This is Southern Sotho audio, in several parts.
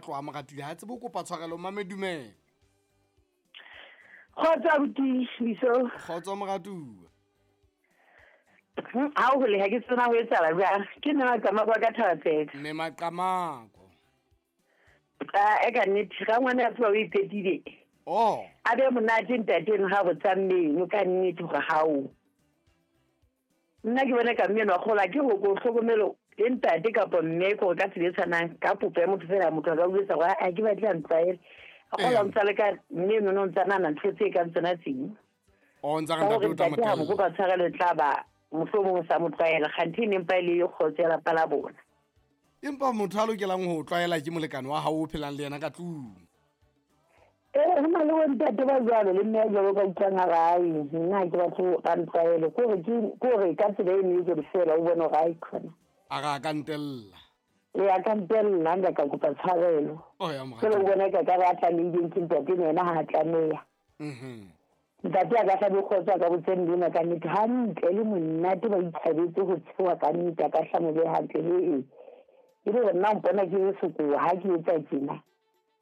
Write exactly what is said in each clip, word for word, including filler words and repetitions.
Tloha moratile ha tsebe ho kopa tshwarelo. Mame dumela. Kgotso abuti Biso. Kgotso moratuwa. Ha o hole ha ke tsena ho etsahala jwang. Ke nna Maqamako ka Thabatseka. Mme Maqamako. Ah, e ka nnete ga ngwana a tloha o iphetile. Oh. A be monate ntate ha botsa mmeno ka nnete hore hao. Nna ke bona ka mmeno wa kgola ke ho ko hlokomelo le ntate kapa mme ko ka tsela e tshwanang ka popo ya motho fela motho a ka utlwisa hore a ke batle a ntlwaele. A kgola ntsa le ka mme no no ntsa nana ntho tse kang tsona tseng. O ntsa re ntate o tla mo tella. Ho kopa tshwarelo tla ba mohlomong sa mo tlwaela kganthe ne mpa ile e kgotso ya lapa la bona. Empa motho a lokelang ho tlwaela ke molekane wa hao o phelang le yena ka tlung. Eh ho na le ntate ba jwalo le mme jwalo ka utlwang ha ai nna ke batho ba ntlwaele ko re ke ko re ka tsela e ne ke fela o bona hore ai khona. A ga ka ntella. E a ka ntella nka ka kopa tshwarelo. Oh ya moratuwa. Ke le bona ka ka ba tlamehileng ke ntate yena ha tlameha. Mhm. Ntate a ka hlabe kgotsa ka botse mme ka nnete hantle le monate ba ithabetse ho tshewa ka nnete ka hlamo be hantle he. E le nna mpona ke sokoa ha ke etsa tjena.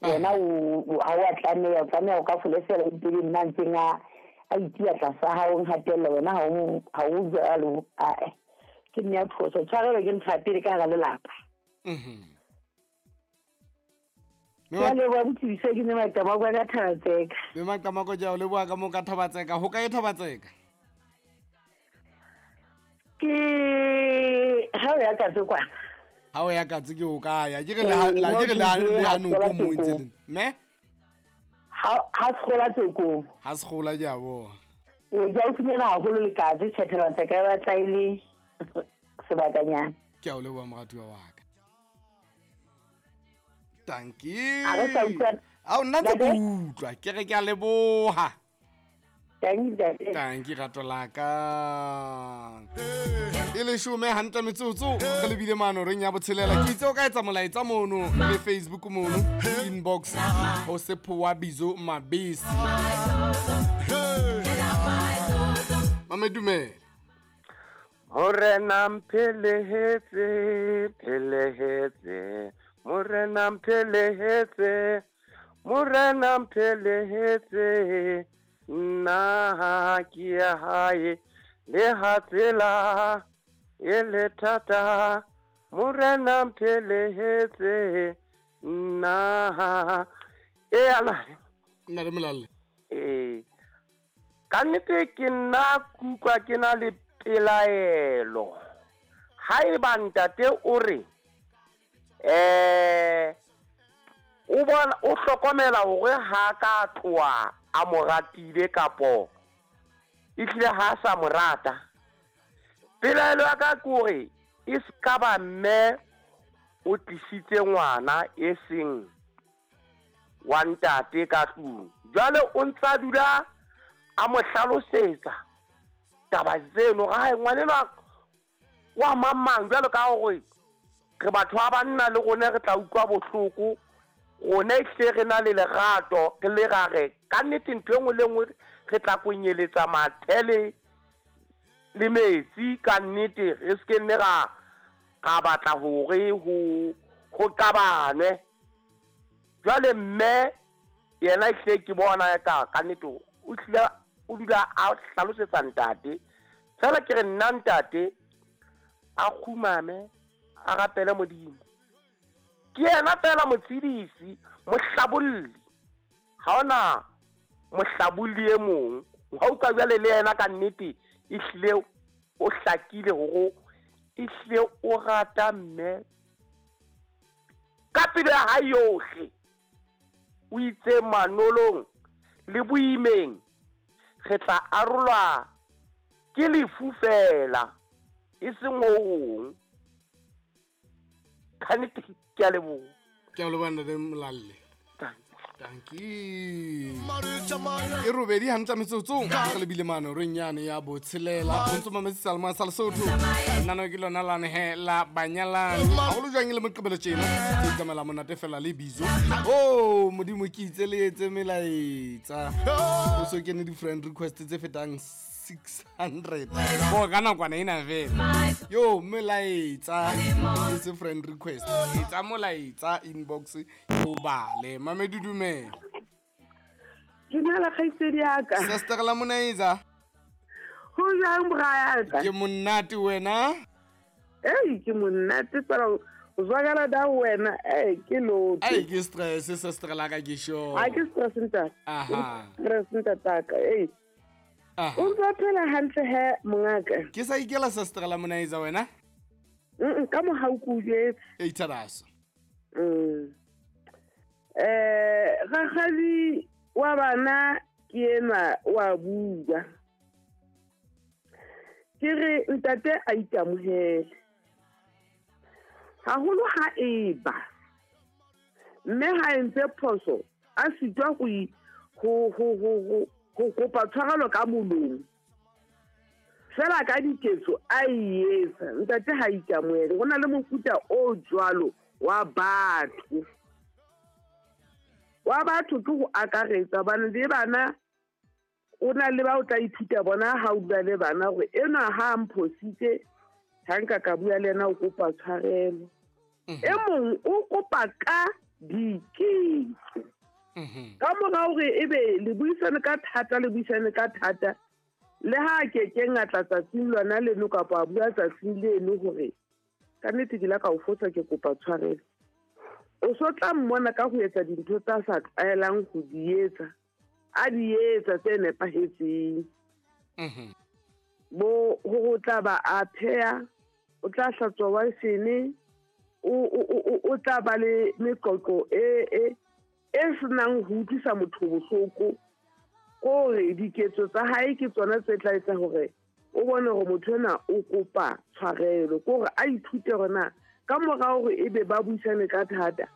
Yena o ha wa tlameha o tlameha o ka folefela pele nna ntseng a a itia tlasa ha o nhatella wena ha o ha o jwalo a ke nne ya phoso tshwarelo ke ntho ya pele ka hara lelapa. Mhm. Ke a leboha botsebisa ke ne Maqamako ka Thabatseka. Mme Maqamako ke a o leboha ka moo ka Thabatseka. Ho kae Thabatseka? Ke ha o ya Katse kwana. Ha o ya Katse ke o kae? Ke re le la ke re le ha noko mo ntse le. Me? Ha ha sekgola tsekong. Ha sekgola ke a bona. E ke o fumana haholo le Katse Thabatseka ba tla ile sebakanyana. Ke a o leboha moratuwa wa ka. Tanki. A nna ntse ke utlwa ke re ke a leboha. Tanki Tanki rato la ka. E leshome hantle metsotso re lebile mano reng ya botshelela ke itse o ka etsa molaetsa mono le Facebook mono inbox ho Sephowa Bizo Mabisi. Mame dumela. Morena mphelehetse phelehetse Morena mphelehetse Morena mphelehetse nna ke ya hae le ha tsela e le thata Morena mphelehetse nna e ala nna re molalle eh ka nnete ke nna kutlwa ke na le pelaelo haeba ntate o re eh o bona o hlokomela hore ha ka tloa a mo ratile kapo ehlile ha sa mo rata pelaelo ya ka ke hore e ska ba mme o tlisitse ngwana e seng wa ntate ka tlung jwale o ntsa dula a mo hlalosetsa taba tseno ga ngwanenwa wa mamang jwalo ka hore re batho ba banna le rone re tla utlwa bohloko rone ehlile re na le lerato re le rare ka nnete ntho e nngwe le nngwe re tla konyeletsa mathe le metsi ka nnete re se ke nne ra ra batla hore ho ho qabanwe jwale mme yena ehlile ke bona ka ka nnete o hlile o dula a hlalosetsa ntate fela ke re nna ntate a kgumame a rapele Modimo ke yena fela motshedisi mohlabolli ha ona mohlabolli e mong ha o ka jwale le yena ka nnete ehlile o hlakile hore ehlile o rata mme ka pelo ya hae yohle o itse manolong le boimeng re tla arolwa ke lefu fela e seng ho hong. Ka nnete ke a leboha. Ke a leboha ntate Molalle. Tanki. E robedi hantle metsotso re lebile mano reng yane ya botshelela o ntse mametse Salma sa Lesotho nna ke lona lane he la banyalani haholo jwang le moqebelo tjena ke tsamela monate fela le Bizo oh Modimo ke itse le etse melaetsa o so kene di friend request tse fetang six hundred bo ka nakwana ena fela yo molaetsa it's a friend request etsa molaetsa inbox o bale Mamedi dumela Dumela kgaitsedi ya ka Sister la Monaisa ho jang bra ke monate wena ei ke monate tsela o zwakala da wena ei ke lotho ei ke stress sister la ka ke sure ha ke stress ntate aha stress ntataka ei aha o ntse phela hantle he mongaka ke sa ikela sister la Monaisa wena mm ka mohau ku jetse ei tsharaso mm eh rakgadi wa bana ke enwa wa bua ke re ntate a ikamohele haholo ha eba mme ha entse phoso a sitwa go ho ho ho ho kopa tshwarelo ka molomo fela ka diketso a e etsa ntate ha ikamohele go na le mofuta o jwalo wa batho wa batho ke go akaretsa bana le bana o na le ba o tla ithuta bona ha o bua le bana gore ena ha mphositse ha nka ka bua le yena o kopa tshwarelo e mong o kopa ka diketso ka mora hore ebe le buisane ka thata le buisane ka thata le ha ke keng a tla tsatsing lona leno kapa a bua tsatsing leno hore ka nnete ke la ka o fosa ke kopa tshwarelo o so tla mmona ka ho etsa dintho tsa sa tlwaelang ho di etsa a di etsa tse nepahetseng mhm bo ho tla ba a pheha o tla hlatswa washene o o o tla ba le meqoqo e e e senang ho utlwisa motho bohloko kore diketso tsa hae ke tsona tse tla etsa hore o bone hore motho ena o kopa tshwarelo kore a ithute hore na ka mora hore ebe ba buisane ka thata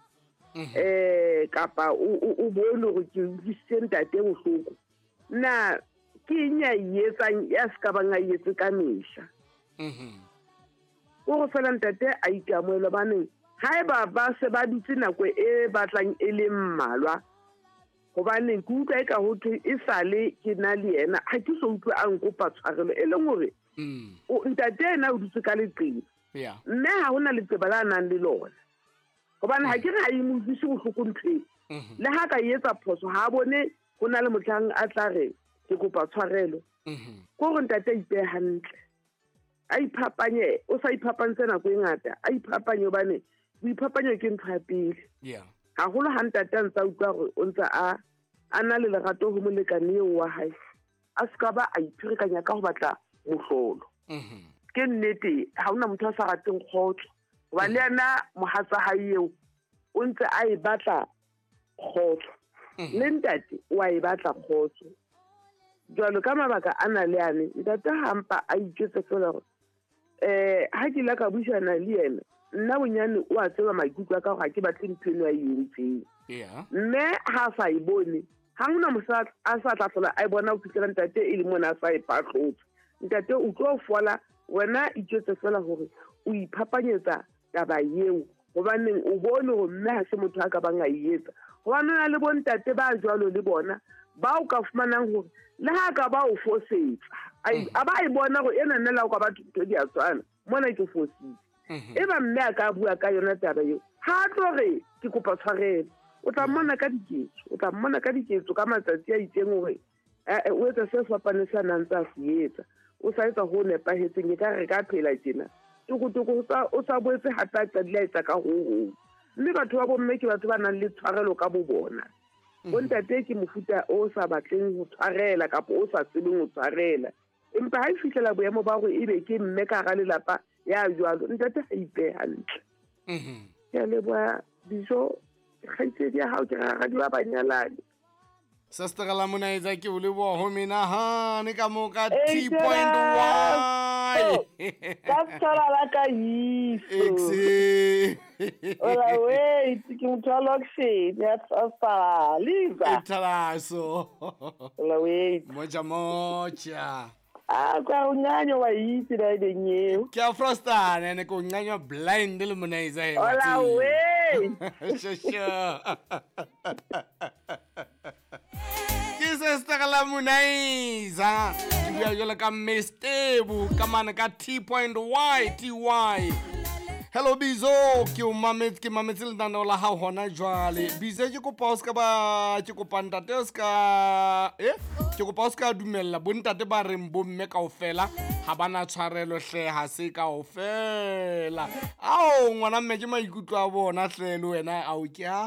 eh kapa o o bone hore ke utlwisitse ntate bohloko na ke eng ya e etsang ya se ka bang a etse ka mehla mhm o go fela ntate a ikamohele baneng haeba ba se ba dutse nako e batlang e le mmalwa hobane ke utlwa e ka ho thwe e sale ke na le yena ha ke so utlwe a nkopa tshwarelo e leng hore o ntate ena o dutse ka leqeba yeah mme ha hona leqeba la nang le lona hobane ha ke re ha e mo utlwise bohloko ntho e le ha ka etsa phoso ha bone ho na le mohlang a tla re ke kopa tshwarelo mhm ko gore ntate a ipehe hantle a iphapanye o sa iphapantse nako e ngata a iphapanye hobane boiphapanyo ke ntho ya pele yeah haholo ha ntate a ntse a utlwa hore o ntse a a na le lerato ho molekane eo wa hae a se ka ba a ipherekanya ka ho batla mohlolo mhm ke nnete ha hona motho a sa rateng kgotso hoba le yena mohatsa hae eo o ntse a e batla kgotso le ntate o a e batla kgotso jwalo ka mabaka a na le ane ntate hampa a itjwetse fela hore eh ha ke la ka buisana le yena nna bonyane o a tseba maikutlo a ka hore ha ke batle ntho eno a e entseng yeah mme ha sa e bone ha hona mosadi a sa tla hlola a e bona ho fihlela ntate e le mona a sa e phahlotse ntate o tlo fola wena itjwetse fela hore o iphapanyetsa taba eo hobaneng o bone hore mme ha se motho a ka bang a e etsa hobane o na le bontate ba jwalo le bona ba o ka fumanang hore le ha ka ba o fosetsa a ba e bona hore ena nna la o ka batho ntho di a tshwana mona ke fositse e ba mme a ka bua ka yona taba eo ha a tlo re ke kopa tshwarelo o tla mmona ka diketso o tla mmona ka diketso ka matsatsi a itseng hore o etsa se fapaneng sa nang tsa se etsa o sa etsa ho nepahetseng e ka re ka phela tjena tokotoko o sa boetse hape a qadile a etsa ka ho hong mme batho ba bomme ke batho ba nang le tshwarelo ka bo bona bontate ke mofuta o sa batleng ho tshwarela kapa o sa tsebeng ho tshwarela empa ha e fihlela boemo ba hore ebe ke mme ka hara lelapa ya jwalo ntate ha ipehe hantle mhm ke a leboha dijo kgaitsedi ya hao ke rakgadi wa banyalani Sister la Monaisa ke o leboha ho menahane ka mo ka T point Y ka tshwara la ka iso Ola wait ke motho wa lokshin ya tsafala liza Ithalaso Ola wait moja moja Ah kwa unyanyo wa itse la eng eo ke a frostana ene ko nyanyo blind le Monaisa he Ola wait Sure sure Ke sister la Harmonizer. Ke bua jwalo ka Mestebu ka mane ka T point Y T Y. Hello Bizo, ke o mametse, ke mametse lenaneo la hao hona jwale. Bizo ke kopa o ska ba, ke kopa ntate o ska, eh? Ke kopa o ska dumella bontate ba reng bomme kaofela ha bana tshwarelo hle, ha se kaofela. Ao ngwana mme ke maikutlo a bona hle le wena, ao ke a